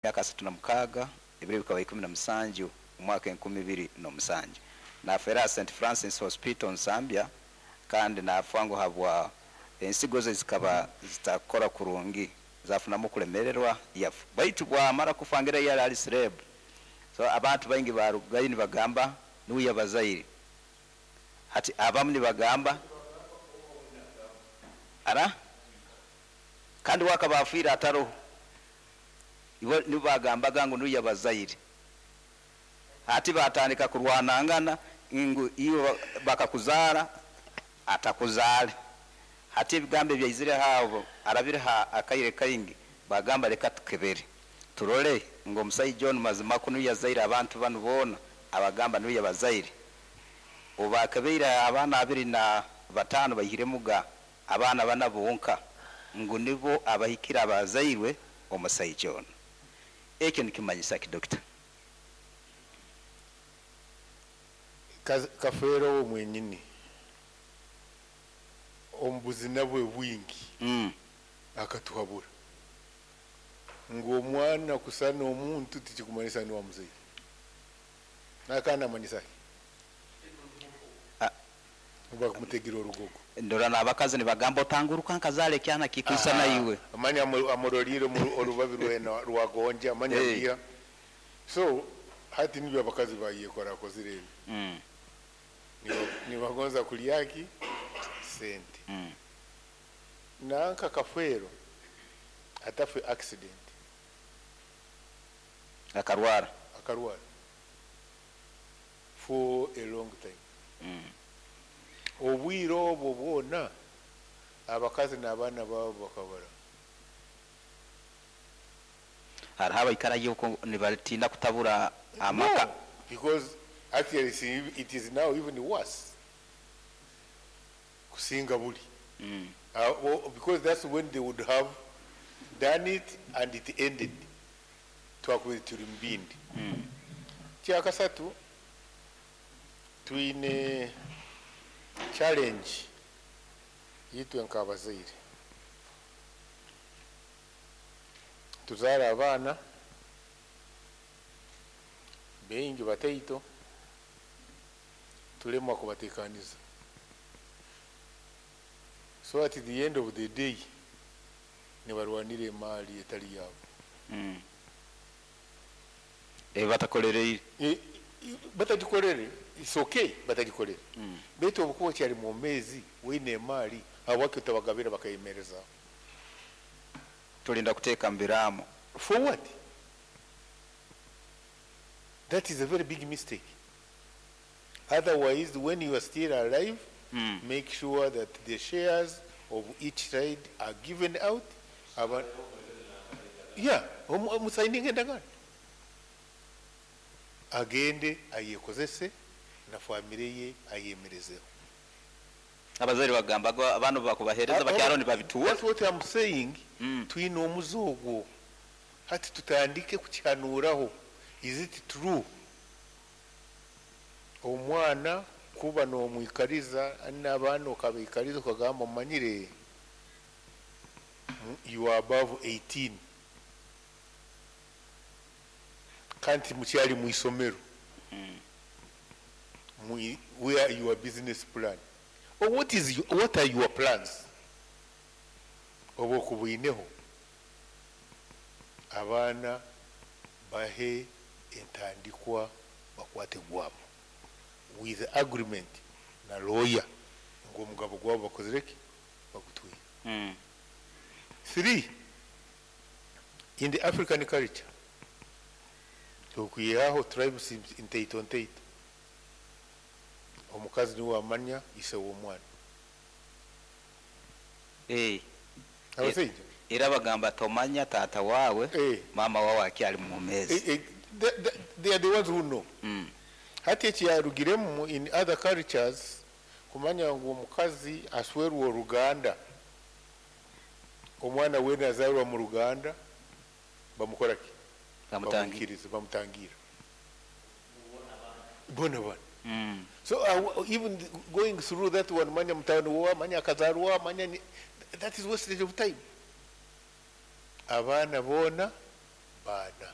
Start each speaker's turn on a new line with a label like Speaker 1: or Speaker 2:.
Speaker 1: Emyaka 36, ebiro bikaba 17 omwaka 2007. Nafeera aha Saint Francis Hospital Nsambya kandi nafa ngu habwa ensigo ze zikaba zitakukora kurungi zafunamu okulemererwa yafa. Baitu bwamara kufa ngu era yali ali celeb so abantu baingi barugayo nibagamba nuwe yabazaire. Hati abamu nibagamba ara kandi we akaba afiire ataroho. Ibo nibo baagambaga ngu nuwe yabazaire. Hati baatandika kurwanangana ngu iwe bakakuzaara atakuzaale. Hati ebigambo ebyaizire aho harabireho akaire kaingi, baagamba leka tukebere turole ngu omusaija onu mazima kwo nuwe yazaire abantu banu boona abagamba nuwe yabazaire. Obu baakebeire abaana 25 baihiremuga abaana bana bonka ngu nibo abahikire abazairwe omusaija onu. Ekyo nikimanyisa ki Dokita?
Speaker 2: Kafeero we mwenyini omu buzina bwe bwingi akatuhabura ngu omwana kusana omuntu tikikumanyisa niwe amuzaire. Akaba namanyisa ki? Bakumutegire orugogo.
Speaker 1: Ndora n'abakazi nibagamba otanguruka nkazaara ekyana kikwisana iwe.
Speaker 2: Manya amurorire orubabi rwena rwagonja manya abiiha. So hati nibyo abakazi bayekora akozire ebi. Nibagonza kurya ki? Sente. Nanka Kafeero atafe accident.
Speaker 1: Akarwara.
Speaker 2: Akarwara for a long time. Obwire obwo bwona abakazi n'abaana baabo bakabara.
Speaker 1: Hariho abaikarayo okwo nibatiina kutabura amaka.
Speaker 2: No, because actually it is now even worse kusinga buri because that's when they would have done it and it ended twakubaire turi mu bindi. Ekyakasatu, twine challenge itwe nk'abazaire. Tuzaara abaana baingi bataito, tulemwa kubateekaniza. So at the end of the day, nibarwanira emaari etari yaabo.
Speaker 1: Ebi batakolereire.
Speaker 2: Batagikorere, it's okay batagikorere. Beitu obu okuba okyari mwomeezi oine emaari, habwaki otabagabira bakayemerezaho?
Speaker 1: Tulinda kuteeka mu biraamo.
Speaker 2: For what? That is a very big mistake. Otherwise when you are still alive, make sure that the shares of each side are given out. Aba, yeah, musayininge endagaano. Agende ayekozese na famire ye ayemerezeho.
Speaker 1: Abazaire bagamba ngu abaana obu bakubaheereza bakyaro nibabituura.
Speaker 2: That's what am saying, twine omuze ogwo hati tutandike kukihanuuraho, is it true omwana kuba nomwikariza nabaana okabaikariza okagamba omanyire you are above 18 kandi timukyari mwishomero where your business plan or what is what are your plans obu okubwineho abaana bahe entandikwa bakwate gwabo with agreement na lawyer ngu omugabo gwabo bakozire ki bagutwire. Three, in the African culture okwihaho tribes ntaito ntaito omukazi niwe amanya ise w'omwana. Abasaija.
Speaker 1: Era bagamba tomanya taata waawe maama waawe akyali mwomeezi.
Speaker 2: They are the ones who know. Hati ekyarugiremu in other cultures kumanya ngu omukazi aswerwa oruganda, omwana weena azaarwa mu ruganda bamukora ki? Bamwikiriza, bamutangira. Boona bana. So even going through that one manya mutabani wowa, manya akazaarwa owa, manya that is wastage of time. Abaana boona baana.